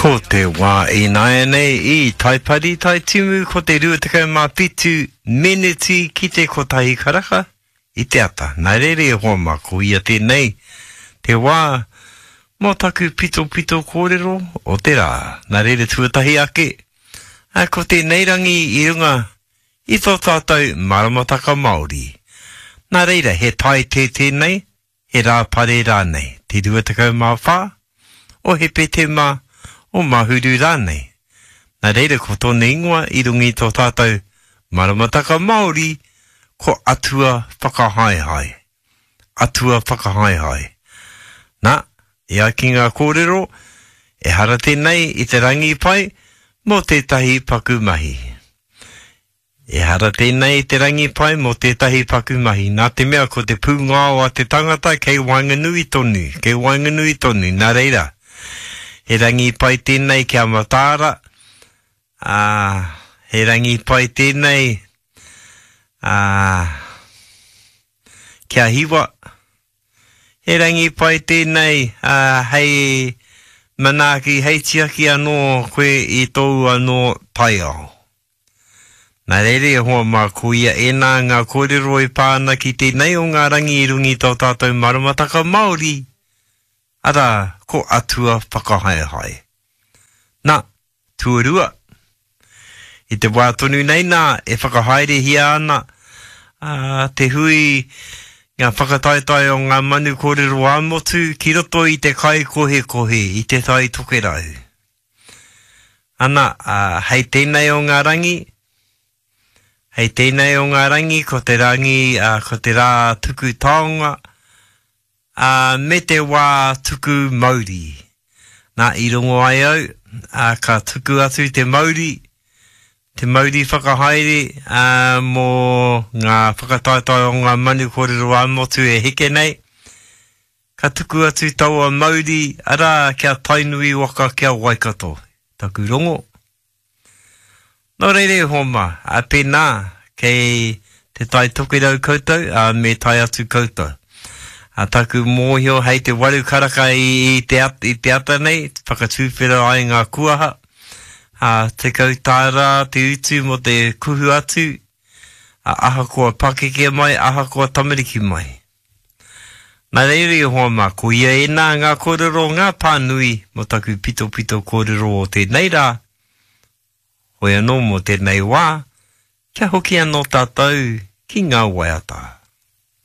Ko te wā ināianei i Taipari Taitimu ko te 27 meneti ki te kotahi karaka i te ata. Nā reira e hoa mā, ko ia tēnei te wā mō taku pitopito kōrero o te rā. Nā reira tuatahi ake, ko tēnei rangi i runga i tō tātou maramataka Māori. Nā reira, he tae tē tēnei, he Rāpare rānei, te 24 o Hepetema, o Mahuru rānei. Nā reira ko tōna ingoa i runga i tō tātou maramataka Māori ko Atua Whakahaehae. Atua Whakahaehae. Nā, e ai ki ngā kōrero, ehara tēnei i te rangi pai mō tētahi paku mahi. Ehara tēnei i te rangi pai mō tētahi paku mahi, nā te mea ko te pūngao a te tangata kei waenganui tonu, kei waenganui tonu, nā reira, he rangi pai tēnei kia mataara, ā, he rangi pai tēnei, ā, kia hiwa, he rangi pai tēnei, ā, hei manaaki, hei tiaki anō koe i tōu anō taiao. Nā reira e hoa mā, ko ia ēnā ngā kōrero e pā ana ki tēnei o ngā rangi i runga i tō tātou maramataka Māori, arā, ko Atua Whakahaehae. Nā, tuarua, i te wā tonu nei nā e whakahaerehia ana ā, te hui ngā whakataetae o ngā manu kōrero ā-motu ki roto i te kaikohekohe i Te Tai Tokerau. Ana, ā, hei tēnei o ngā rangi, hei tēnei o ngā rangi, ko te rangi, ā, ko te rā tuku taonga, ā, me te wā tuku mauri. Nā, i rongo ai au, ā, ka tuku atu te mauri, te mauri whakahaere, ā, mō ngā whakataetae o ngā manu kōrero ā-motu e heke nei, Ka tuku atu taua mauri, arā, ki a Tainui waka ki a Waikato, taku rongo. Nō reira e hoa mā, ā, pēnā, kei Te Tai Tokerau koutou, ā, me tae atu koutou. Ā, taku mōhio hei te waru karaka i, i, te, at, i te ata nei, whakatūwhera ai ngā kuaha, ā, 10 tāra te utu mō te kuhu atu, ā, ahakoa pakeke mai, ahakoa tamariki mai. Nā reira e hoa mā, ko ia ēnā ngā kōrero, ngā pānui mō taku pitopito kōrero o tēnei rā, hoi anō mō tēnei wā, kia hoki anō tātou ki ngā waiata.